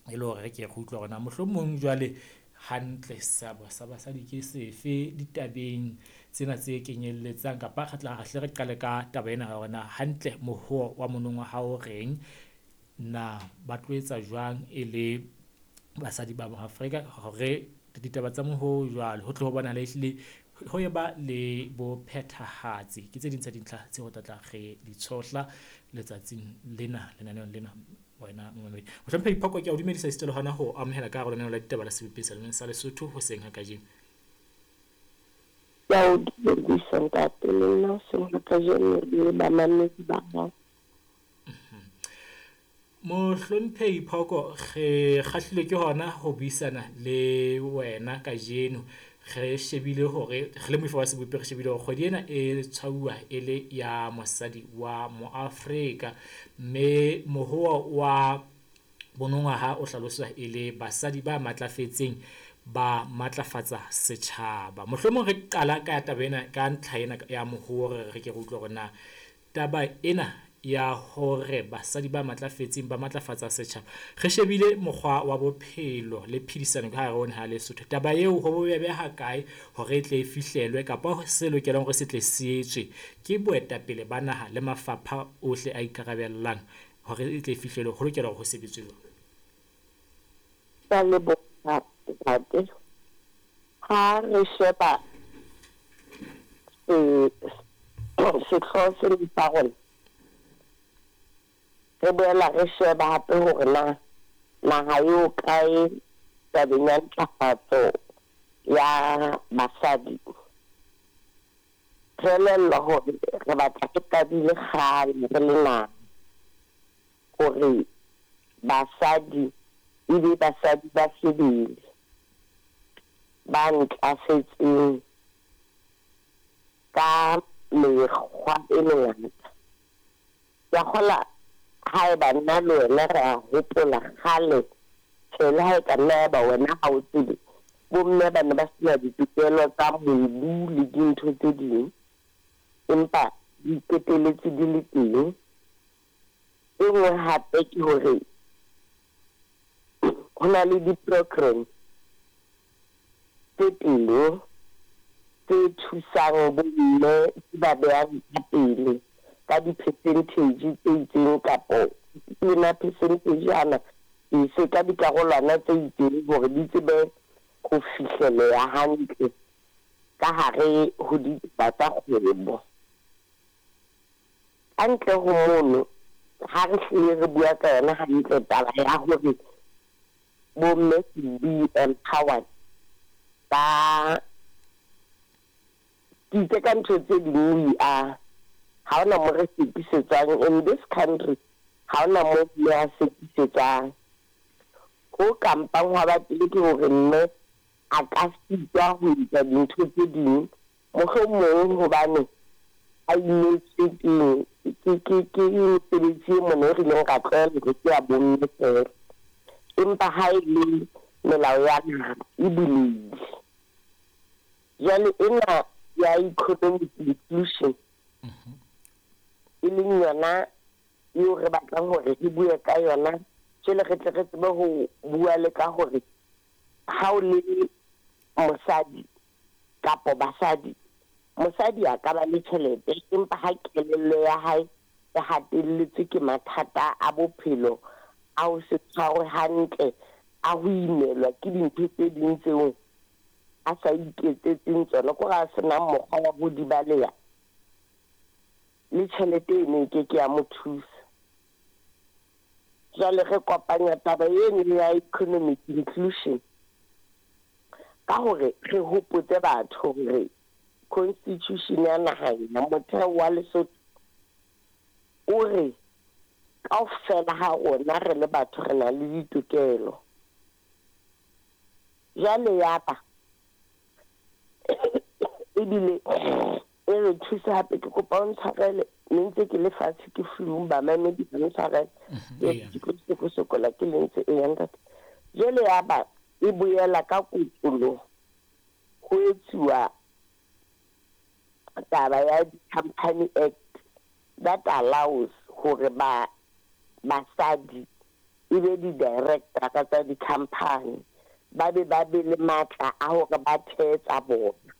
E le hore re ke re utlwe hore na mohlomong jwale hantle seabo sa basadi ke sefe ditabeng tsena tse kenyelletsang, kapa re tla hle re qale ka taba ena ya hore na hantle mohoo wa monongwaha o reng, na ba tlo etsa jwang e le basadi ba Maafrika hore ditaba tsa mohoo jwalo ho tle ho bonahale ehlile ho e ba le bo phethahatsi. Ke tse ding tsa dintlha tseo re tla tla re di tshohla letsatsing lena lenaneong lena wena momamedi. Mohlomphehi Phoko, ke a o dumedisa esita le hona ho amohela ka hare ho lenaneo la ditaba la Sebopeng sa Lesotho hoseng ha kajeno. Ke a o dumedisa ntate, le nna hoseng ha kajeno le bamamedi ba hao. Mohlomphehi Phoko, re kgahlilwe ke hona ho buisana le wena kajeno. Re shebile hore re le moifo wa sebopi, re shebile hore kgwedi ena e tshwauwa e le ya mosadi wa Moafrika, mme mohoa wa bonongwaha o hlaloswa e le basadi ba matlafetseng ba matlafatsa setjhaba. Mohlomong re qala ka taba ena, ka ntlha ena ya mohoa, re ke re utlwe hore na taba ena ya hore basadi ba matlafetseng ba matlafatsa setjhaba, re shebile mokgwa wa bophelo le phedisano ka hare ho naha Lesotho. Taba eo ho bobebe ha kae hore e tle e fihlelwe, kapa se lokelang hore se tle se etswe ke boetapele ba naha le mafapha ohle a ikarabellang hore e tle e fihlelwe, ho lokela hore ho sebetswe jwang? Ke a leboha ntate. Ha re sheba sehlooho sena sa rona, re boela re sheba hape hore na naha eo kae tabeng ya ntlafatso ya basadi. Re elellwa hore re batla re qadile kgale re le naha hore basadi e be basadi ba sebele ba ntlafetseng ka mekgwa e mengata. Ke a kgola haeba nna le wena re a hopola kgale, tjhe le ha e ka nna ya ba wena ha o tsebe, bomme ba ne ba sena ditokelo tsa mobu le dintho tse ding, empa di qetelletse di le teng. E nngwe hape ke hore ho na le di-program tse teng tse thusang bomme, tse ba behang ka pele ka di-percentage tse itseng, kapo lena percentage ana e se ka dikarolwana tse itseng hore di tsebe ho fihleleha hantle ka hare ho ditaba tsa kgwebo. Ka ntle ho mono, ha re hlile re bua ka yona hantle taba ya hore bomme should be empowered, ba ke itse ka ntho tse ding we are, ha hona mo re sekisetswang in this country, ha hona mo mme a sekisetswang. Ho kampang hwa ba teng ke hore mme a ka sitwa ho etsa dintho tse ding, mohlomong hobane a imetswe ke mesebetsi e mona e re ileng ra tlwaela hore ke ya bomme feela. Empa ha e le melao ya naha e bulehile. Jwale ena ya economic inclusion e leng yona eo re batlang hore re bue ka yona, jwale re tle re tsebe ho bua le ka hore ha o le mosadi kapo basadi, mosadi a ka ba le tjhelete empa ha kelello ya hae e hatelletswe ke mathata a bophelo, a ho se tshwarwe hantle, a ho imelwa ke dintho tse ding tseo a sa iketsetseng tsona, ke hore a senang mokgwa wa ho di baleha, le tjhelete eno e ke ke ya mo thusa. Jwale re kopanya taba eno ya economic inclusion ka hore re hopotse batho hore constitution ya naha ena, motheo wa Lesotho o re kaofela ha rona re le batho re na le ditokelo. Jwale ya ba ebile e re thusa hape, ke kopa o ntshwarele, ne ntse ke le fatshe ke flu, bamamedi ba ntshwarele, ke tlo sokola ke le ntse e ya ntate. Jwale ya ba e boela ka kotloloho ho etsuwa taba ya di-Company Act that allows hore ba basadi e be di-director tsa di-company, ba be ba be le matla a hore ba thehe tsa bona.